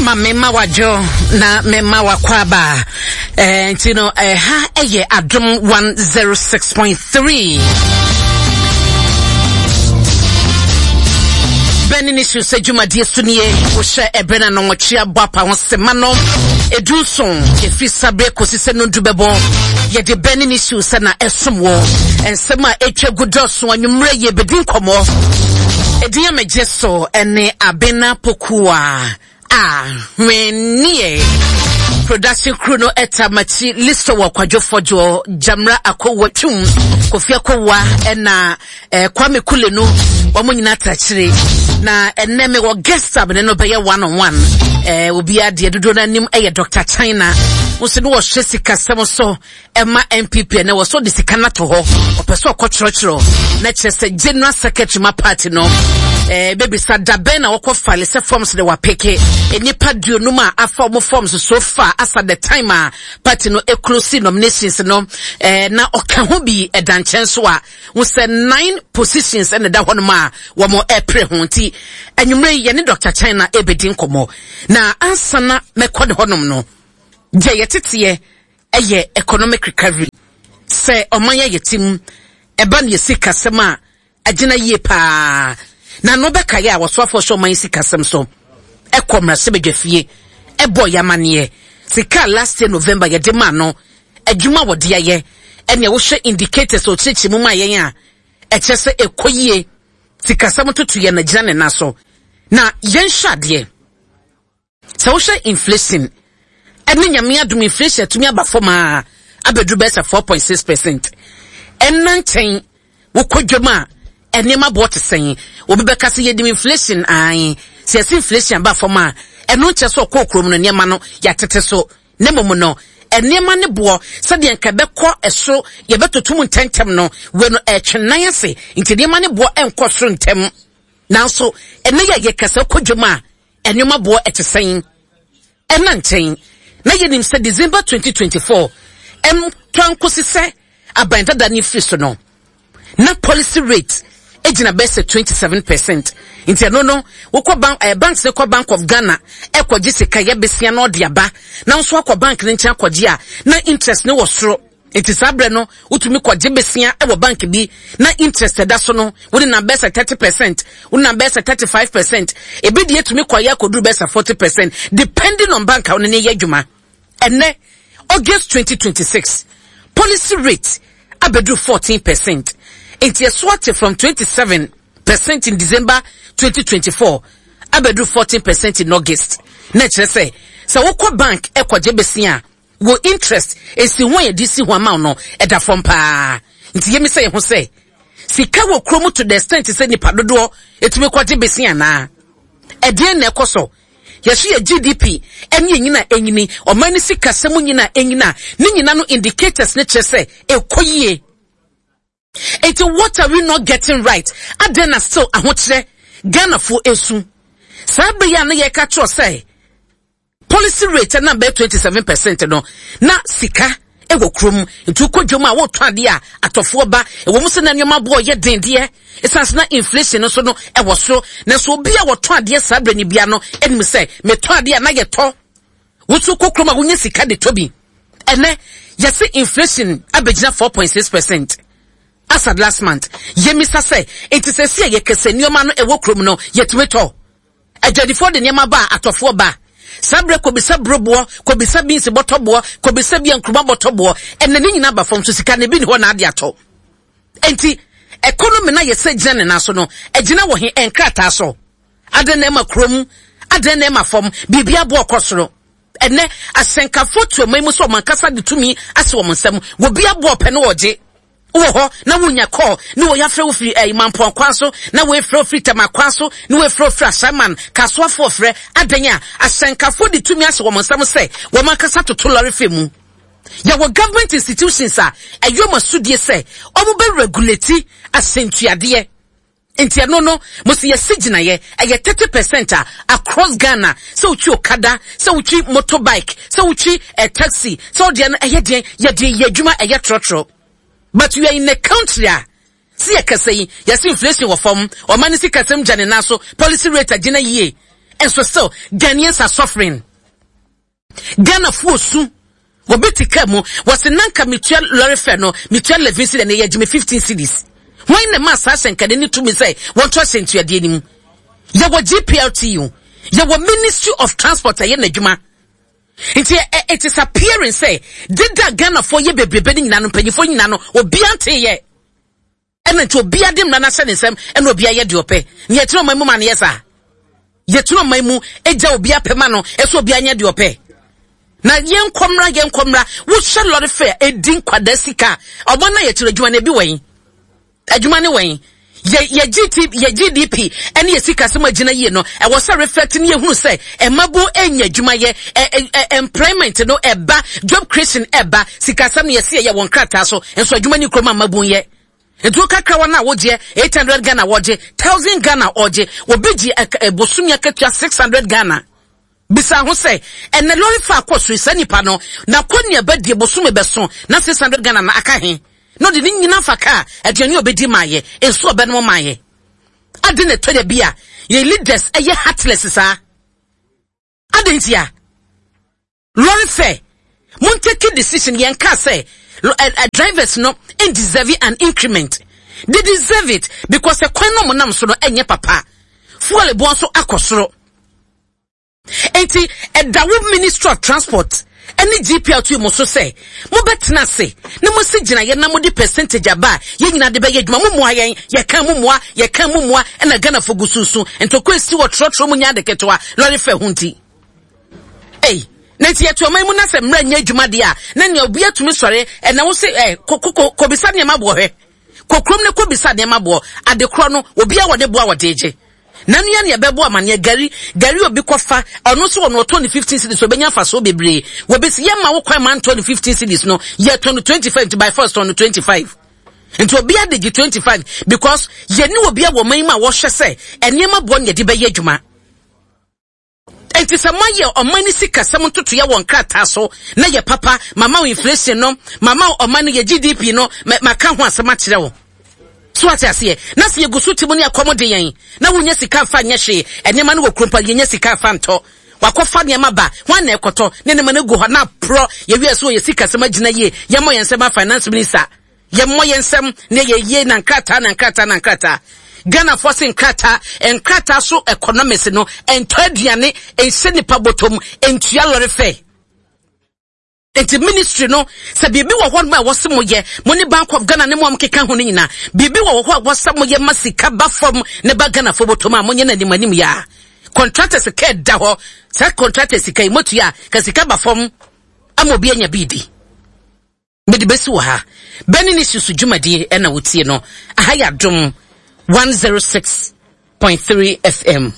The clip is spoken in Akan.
Ma mema wadwo na mema wakɔ Eh, nti no ɛha eh, ɛyɛ Adom 106.3. Bɛne ne su sɛ dwumadie so nie wohyɛ ɛberɛ no anɔnwɔtwe abɔ apa ho sema no ɛdu nson ɛfiri saberɛ kɔsi sɛ nondu bɛbɔ yɛde bɛne ne su sɛ na ɛsom wɔ nsɛm a ɛtwa gu dɔso anwummerɛ yɛbɛdi nkɔmmɔ ɛdin a megye so ɛne Abena Pokuwa a hwenneɛ production crew no ɛta makyi listo wɔ kwadwo fɔdwoɔ jamra akowa twum kofi akowa ɛna eh, kwame kule no wɔn nyinaa ta akyire na ɛnɛ me wɔ guest a mene no bɛyɛ one on one eh, obiara deɛ dodoɔ no anim ɛyɛ dr china nso ne wɔhwɛ sikasɛm so ɛma NPP ɛnɛ wɔ so de sika no ato hɔ ɔpɛ sɛ ɔkɔkyerɛkyerɛ na kyerɛ sɛ general secretary ma party no ɛɛ eh, bebisa dabɛn na wɔkɔ file sɛ forms de wapeke nnipa duonum a afa wɔn forms so far asa the time a party no eclose nominations no ɛɛ eh, na ɔka ho bi ɛda nkyɛn so a wɔsɛ nine positions ɛna ɛda hɔnom a wɔn ɛpere ho nti anwummerɛ yi yɛne Dr. China ɛbɛdi nkɔmɔ na ansa na mɛkɔ ne hɔnom no deɛ yɛteteɛ yɛ economic recovery. Sɛ ɔman a yɛte mu ɛba no yɛ sikasɛm a agyina yie paa. Na no bɛkaeɛ a wɔsoafoɔ hyɛ ɔman sikasɛm so ɛkɔ mmarahyɛbadwafie ɛbɔ yɛ amaneɛ sika a last year November yɛde maa no adwuma a wɔde ayɛ ɛnea wohwɛ indicators a ɔkyerɛkyerɛ mu maa yɛn a ɛkyerɛ sɛ ɛkɔ yie sikasɛm toto yɛn agyina ne nan so na yɛnhwɛ adeɛ. Sɛ wohwɛ inflation ɛne nyame adom inflation atumi aba fam a abɛduru bɛyɛ sɛ 4.6%. Ɛnna nkyɛn wokɔ dwam a nneɛma boɔ te sɛn? Obi bɛka sɛ yɛnim inflation ae. Sɛ yɛsi inflation aba fam a ɛno nkyɛ sɛ ɔkɔɔ kurom no nneɛma no yɛatete so. Na mmom no nneɛma ne boɔ sɛdeɛ nka ɛbɛkɔ ɛsoro yɛbɛtoto mu ntɛmntɛm no wei no ɛretwe nan ase nti nneɛma ne boɔ ɛnkɔ soro ntɛm. Nanso ɛnɛ yɛ yɛkasa kɔ dwam a Nneɛma boɔ ɛte sɛn? Ɛna nkyɛn na yɛnim sɛ December 2024 ɛmtoa nkosi sɛ aban dada no firi so no, na policy rate gyina bɛyɛ sɛ 27%. Nti ɛno no, wokɔ bank, eh, banks no kɔ Bank of Ghana ɛkɔgye sika yɛ besia na ɔde aba, na nso akɔ bank no nkyɛn akɔgye a, na interest no wɔ soro. Nti saa berɛ no, wotumi kɔgye besia wɔ bank bi na interest ɛda so no, wode nam bɛyɛ sɛ 30%, wode nam bɛyɛ sɛ 35%, ebi deɛ tumi kɔyɛ akɔduru bɛyɛ sɛ 40% depending on bank a wone ne yɛ adwuma. Ɛnɛ, August 2026, policy rate abɛduru 14%. Nti ɛso ate from 27% in December 2024 abɛduru 14% in August. Na ɛkyerɛ sɛ, sɛ wokɔ bank ɛkɔgye besia a, Wo interest, nsiho a yɛde si ho ama wo no, ɛda fam paa. Nti yɛmmisa yɛn ho sɛ, sika wɔ kurom to the extent sɛ nipa dodoɔ ɛtumi kɔgye bese anaa? Ɛdeɛn na ɛkɔ so? Yɛso yɛ GDP ɛne ɛnyini a ɛnyini, ɔman no sikasɛm nyini a ɛnyini a, ne nyina no indicators no kyerɛ sɛ ɛkɔ yie. Enti what are we not getting right? Adɛn na still ahokyerɛ Ghanafoɔ ɛsu? Saa bere yi a na yɛka kyerɛ sɛ Policy rate na bɛyɛ 27% no, na sika wɔ kurom. Nti wokɔ dwam a wotɔ adeɛ a atɔfoɔ ba. Ɛwɔ mu sɛ na nneɛma boɔ yɛ den deɛ, ɛsiane sɛ na inflation no nso no ɛwɔ soro. Nanso obi a wɔtɔ adeɛ saa berɛ no bia no anim sɛ metɔ adeɛ a na yɛtɔ. Wo nso kɔ kurom a wonya sika de tɔ bi. Ɛnɛ yɛse inflation abɛgyina 4.6%. As at last month, yɛmmisa sɛ, nti sɛsi a yɛkɛsɛ nneɛma no ɛwɔ kurom no yɛtumi tɔ? Adwadifoɔ de nneɛma ba a, atɔfoɔ ba. Saa berɛ kɔbisa buroboɔ, kɔbisa beans bɔtɔboɔ, kɔbisa bia nkruma bɔtɔboɔ. Ɛnɛ ne nyinaa ba fam so sika no ebi ni hɔ na ade atɔ. Enti economy no a yɛsɛ gyina ne nan so no, ɛgyina wɔ he? Nkrataa so. Adɛn na ɛma kurom? Adɛn na ɛma fam? Biribi aboɔ kɔ soro. Ɛnɛ asɛnkafoɔ tu ɔman mu sɛ wɔn ankasa de tumi ase wɔn nsam. Wɔbi aboɔ pɛ no wɔgye. Wowɔ hɔ na wonya call ne wei afrɛ wo firi ɛyi Mampɔn kwan so na wei frɛ wo firi Tema kwan so ne wei frɛ wo firi Ashaiman Kasoafoɔ frɛ adɛn a ahyɛnkafoɔ de tumi ahyɛ wɔn nsam sɛ wɔn ankasa toto lɔre fɛ mu. Yɛwɔ government institutions a ɛyɛ wɔn asodie sɛ wɔn bɛ regulate ahyɛntuadeɛ. Nti ɛno no mo se yɛsi gyinaeɛ ɛyɛ 30 percent a across Ghana sɛ wotwi okada sɛ wotwi motorbike sɛ wotwi eh, taxi sɛ wodeɛ no ɛyɛ deɛn yɛde yɛ adwuma ɛyɛ trɔtrɔ but we are in a country a si yɛ kɛsɛ yi yɛsi inflation wɔ fam ɔma ne sikasɛm gya ne nan so policy rate agyina yie. Nso still Ghanaians are suffering. Ghanafoɔ su. Obi te kaa mu, wɔse nanka metua lorry fare no, metua 11 cedis, ɛnɛ yɛgye me 15 cedis. Hwan na ɛmaa saa hyɛnkani no tumi sɛ wɔnto ahyɛntuadeɛ no mu? Yɛwɔ GPRTU, yɛwɔ Ministry of Transport ɛyɛ n'adwuma. Nti it is appearing sɛ deda Ghanafoɔ yɛ bebrebe no nyinaa no, mpanyinfoɔ nyinaa no, obiara nteeɛ. Ɛna nti obiara de mmara no ahyɛ ne nsam ɛna obiara yɛ deɛ ɔpɛ. Nea ɛtena ɔman mu ma no yɛ saa. Yɛtena ɔman mu gya obiara pɛ ma no ɛsɛ obiara nyɛ deɛ ɔpɛ. Na yɛnkɔ mmra yɛnkɔ mmra wohyɛ lɔre fɛ ɛdi nkwadaa sika a ɔbɔ na yɛkyerɛ adwuma no ebi wɛn adwuma ne wɛn yɛ yɛ GT yɛ GDP ɛne yɛ sikasɛm agyina yie no ɛwɔ sɛ reflect ne yɛhunu sɛ ɛmabo ɛnya adwuma yɛ ɛ ɛ employment no ɛba job creation ɛba sikasɛm no yɛsi ɛyɛ wɔn krataa so nso adwuma ne kurom a mmabun yɛ nti wo kakra wɔn a wogyeɛ 800 Ghana wɔgye 1000 Ghana ɔgye obi gye bosomi akatua 600 Ghana bisa ho sɛ ɛnɛ lɔre fa akɔ so saa nipa no na kɔ nea bɛdie bosome bɛso na 600 Ghana na aka he na ɔde ne nyina fa kaa aduane a ɔbɛdi maayɛ nsuo ɔbɛnom maayɛ ade na ɛtɔ da bi a yɛn leaders ɛyɛ heartless saa ade nti a lorry fare mon take decision yɛn kaa sɛ drivers no deserve an increment they deserve it because ɛkwan no ɔmo nam so no ɛnyɛ papa fuel boɔ nso akɔ soro enti ɛda wo ministry of transport ɛne GPRT mo so sɛ mobɛtena ase na moasi gyinaeɛ na mode percentage aba a yɛn nyinaa de bɛyɛ adwuma mo mmoa yɛn yɛka mo mmoa yɛka mo mmoa ɛna Ghanafoɔ gu sunsun ntɔkwa esi wɔ trɔtrɔ mu nyɛ ade ketewa lɔre fɛ ho nti. Ei, na nti yɛte ɔman mu na sɛ mmerɛ nyɛ adwuma deɛ a, na nea obi atumi sɔre ɛna wo se ɛ kɔ kɔbisa nneɛma boɔ hwɛ. Kɔ kurom ne kɔbisa nneɛma boɔ. Ade korɔ no, obi a wɔde boa wɔde gye. Na nua nea ɛbɛbɔ amaneɛ gari gari obi kɔfa ɔno nso wɔn ɔtɔ ne 15 cedis obɛnya mfasoɔ bebree. Wɔbɛsi yɛ ma wo kwan ma ntɔ ne 15 cedis no yɛ tɔ no 25 nti by force tɔ no 25. Nti obi ade gye 25 because yɛne obi a wɔ man mu a wɔhwɛ sɛ nneɛma boɔ ne yɛde bɛyɛ adwuma. Enti sɛ moayɛ ɔman no sikasɛm ntotoeɛ wɔ nkrataa so na yɛ papa, mama wo inflation no, mama wo ɔman no yɛ GDP no, maka ho asɛm akyerɛ wo. So ate aseɛ? Na sɛ yɛgu so te mu ne ɛkɔm de yɛn, na wonya sika mfa nyɛ hwee, nneɛma no wɔ kurom pa, yɛnya sika mfa ntɔ. Wakɔfa nneɛma ba, hwan na ɛkɔtɔ? Ne nneɛma no gu hɔ na aporɔ. Yɛwie so yɛ sikasɛm agyina yie, yɛmmɔ yɛn nsɛm finance minister. Yɛmmɔ yɛn nsam na yɛ yie na nkrataa na nkrataa na nkrataa. Ghanafoɔ se nkrataa, nkrataa so economics no, ɛntɔ aduane, ɛnhyɛ nipa bɔtɔm, ɛntua lɔre fɛ. Nti ministry no, sɛ biribi wɔ hɔ nom a ɛwɔ sɛ moyɛ, mo ne Bank of Ghana ne mo a mokeka ho no nyinaa, biribi wɔ hɔ a ɛwɔ sɛ moyɛ ma sika ba fam ne ba Ghanafoɔ bɔtɔm a, monyɛ no anim anim yɛ a. Contractors ka ɛda hɔ, saa contractors sika yi motua a, ka sika ba fam ama obi anya bi di. Mede bɛsi wɔ ha. Bɛne ne susu dwumadie ɛna wotie no. Aha yɛ Adom 106.3 FM.